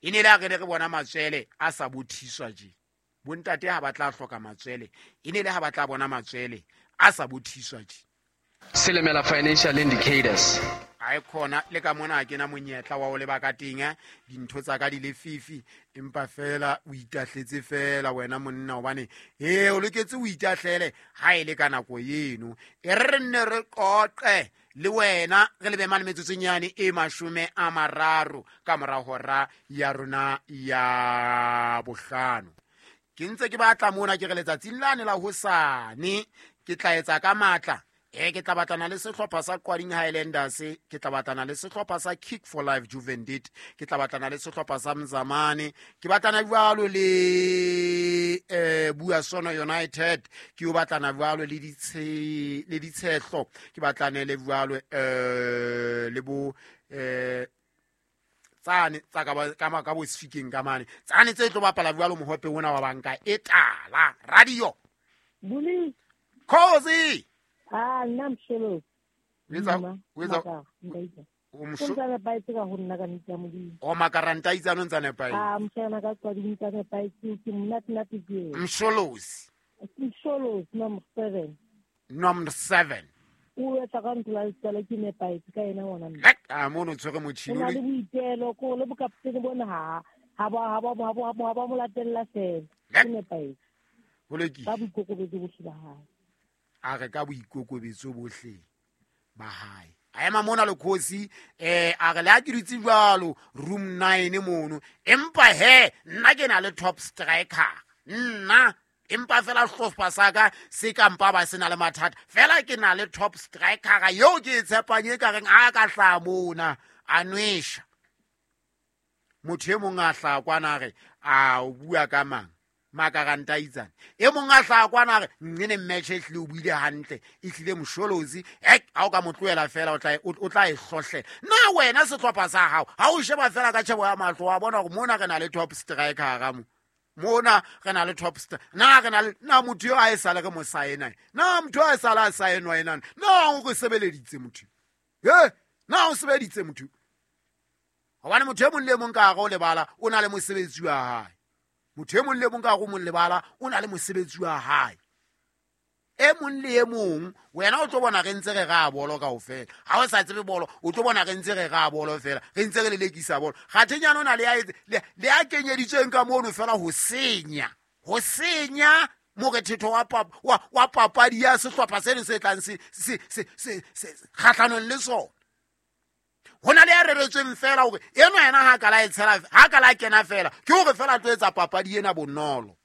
E ne le a re ne re bona matswele a sa bothiswa je. Bontate ha ba tla hloka matswele, e ne le ha ba tla bona matswele a sa bothiswa je. Silimela Financial Indicators. A e khona le ka mona ke na monyetla wa o leba ka teng, dintho tsa ka di le fifi, empa fela o itahletse fela wena monna, hobane he o loketse o itahlele ha e le ka nako eno. E re re nne re qoqe le wena re lebe mane metsotsonyane e 30 ka mora hora ya rona ya 5. Ke ntse ke batla mona ke re letsatsing lane la hosane ke tla etsa ka matla. Ke tla batlana le sehlopha sa Qwading Highlanders, ke tla batlana le sehlopha sa Kick for Life Juvendit, ke tla batlana le sehlopha sa Mzamane, ke batlana jwalo le Buasono United, ke yo batlana jwalo le le Ditshehlo, ke batlane le jwalo le bo tsane tsa ka ba, ka ma, ka bo Sfikeng ka mane. Tsane tse tlo bapala jwalo mohope ona wa banka e tala. Radio. Buli. Khosi. Ah, nna Msholo. O etsa, Mma, o etsa, Maka, nka itsa. o msho- O ntsa nepahetse ka ho nna ka nnete ya Modimo. O makaranta itsa no ntsa nepahetse. Ah, mshana ka tswa di ntsa nepahetse, ke monate-nate ke eo. Msholozi. Msholozi, number 7. Number 7. O etsa ka ntlo ya letswalo ke nepahetse ka yena ngwana mme. Lek, ah, mono tshwere motjhini. O na le boitelo, ko le bokaptene bona ha ba mo latella fela. Lek. Ke nepahetse. Ho lokile. Ka boikokobetso bohle ba hae. A re ka boikokobetso bohle ba hae. A ema mona le khosi, a re le ha ke dutse jwalo room 9 mono, empa he nna ke na le top striker. Nna empa fela sehlopha sa ka se ka mpa ba sena le mathata, fela ke na le top striker eo ke e tshepang e ka reng ha ka hlaha mona a nwesha. Motho e mong a hlaha kwana a re, a o bua ka mang? Makaranta itsane. E mong a hlaha kwana a re, nnene match e hlile o buile hantle, e hlile Msholozi, hek, ha o ka mo tlohela fela, o tla e hlohlela. Na wena sehlopha sa hao, ha o sheba fela ka tjhebo ya mahlo, wa bona hore mona re na le top striker hara mo. Mona re na le top na re na le, na motho eo a e sale re mo saena? Na motho a e sale a saenwa ena? Na o re sebeleditse motho? He, na o sebeditse motho? Hobane motho e mong le e mong ka hare ho lebala, o na le mosebetsi wa hae. Motho e mong le e mong ka hare ho mong lebala, o na le mosebetsi wa hae. E mong le e mong, wena o tlo bona re ntse re ra bolo kaofela. Ha o sa tsebe bolo, o tlo bona re ntse re ra bolo fela, re ntse re lelekisa bolo. Kgathenyana o na le ya etse, le ya kenyeditsweng ka mono fela ho senya. Ho senya morethetho wa papadi ya sehlopha seno se tlang se kgahlanong le sona. Ho na le ya reretsweng fela hore enwa yena ha ka la e tshela, ha ka la kena fela, ke hore fela a tlo etsa papadi ena bonolo.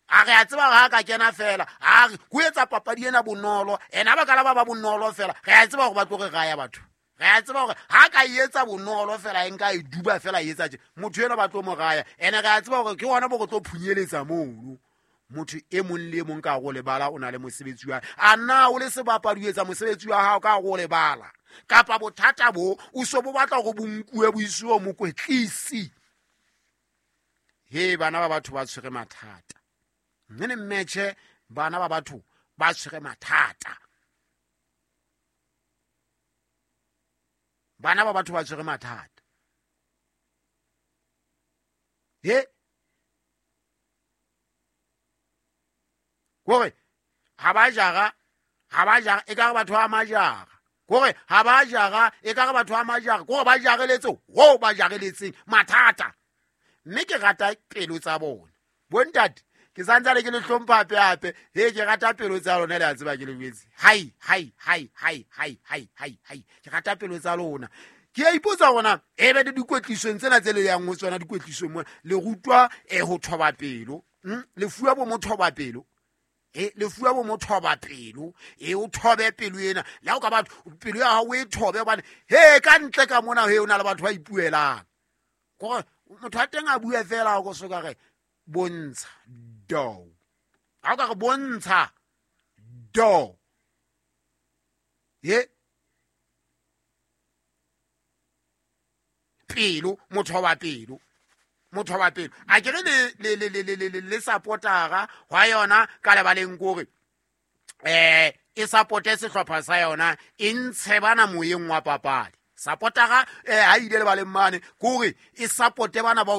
A re a tseba hore ha ka kena fela, a re ho etsa papadi ena bonolo, ena ba ka la ba ba bonolo fela, re a tseba hore ba tlo re raya batho. Re a tseba hore ha ka e etsa bonolo fela, e nka e duba fela e etsa tje, motho enwa ba tlo mo raya. Ene re a tseba hore ke hona bo re tlo phunyeletsa mono. Motho e mong le e mong ka hare ho lebala o na le mosebetsi wa hae. A na o le sebapadi o etsa mosebetsi wa hao ka hare ho lebala? Kapa bothata bo o so bo batla hore bo nkuwe bo isiwe mokwetlisi? He, bana ba batho ba tshwere mathata. Mme ne mmetjhe, bana ba batho ba tshwere mathata. Bana ba batho ba tshwere mathata. He, kore ha ba jara, ha ba jara, e ka re batho ba majara. Kore ha ba jara, e ka re batho ba majara. Kore ba jareletse ho ba jareletseng mathata. Mme ke rata pelo tsa bona. Bontate, ke santsane ke le hlompha hape hape. He, ke rata pelo tsa lona, le a tseba ke le jwetse. Hai, hai, hai, hai, hai, hai, hai, hai. Ke rata pelo tsa lona. Ke a ipotsa hore na, e be le dikwetlisong tsena tse le yang ho tsona dikwetlisong mona, le rutwa, ho thoba pelo. Le fuwa bo mothoba pelo. Le fuwa bo mothoba pelo. O thobe pelo ena. Le ha o ka batho, pelo ya hao o e thobe hobane, he, ka ntle ka mona, he, o na le batho ba ipuelang. Kore motho a teng a bue fela, o ko so ka re, bontsha do. Ha o ka re bontsha do. He? Pelo, motho wa pelo. Motho wa pelo. A ke re le supportara hwa yona ka lebaleng kore, e supporte sehlopha sa yona, e ntshe bana moyeng wa papadi. Supportara, ha ile lebaleng mane, kore e supporte bana ba